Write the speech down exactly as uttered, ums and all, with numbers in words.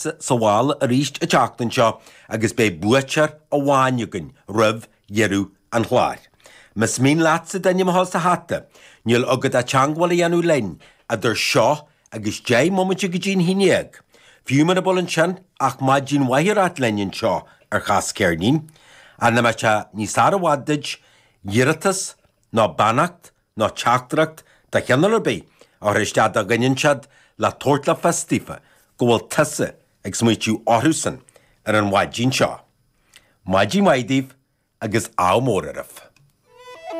sa mhála arís an tseachtain seo agus beidh buaiteoir amháin againn roimh dheireadh an chláir. Más mian leatsa d'ainm a fháil sa hata, níl agat ach teagmháil a dhéanamh linn idir seo agus deich mbomaite go dtí'n haon dhéag. Fiú mura bhfuil ansin ach maidin mhaith a ráit linn anseo ar Chas Ceirnín, ach dá mbeadh sé níos fearr i bhfad duit iarratas nó beannacht nó teachtaireacht de chineál ar bith a chur isteach do dhuine inteacht le tabhairt le fios daofa go bhfuil tusa ag smaoitiú orthusan ar an mhaidin seo. Maidin mhaith daoibh agus ádh mór oraibh.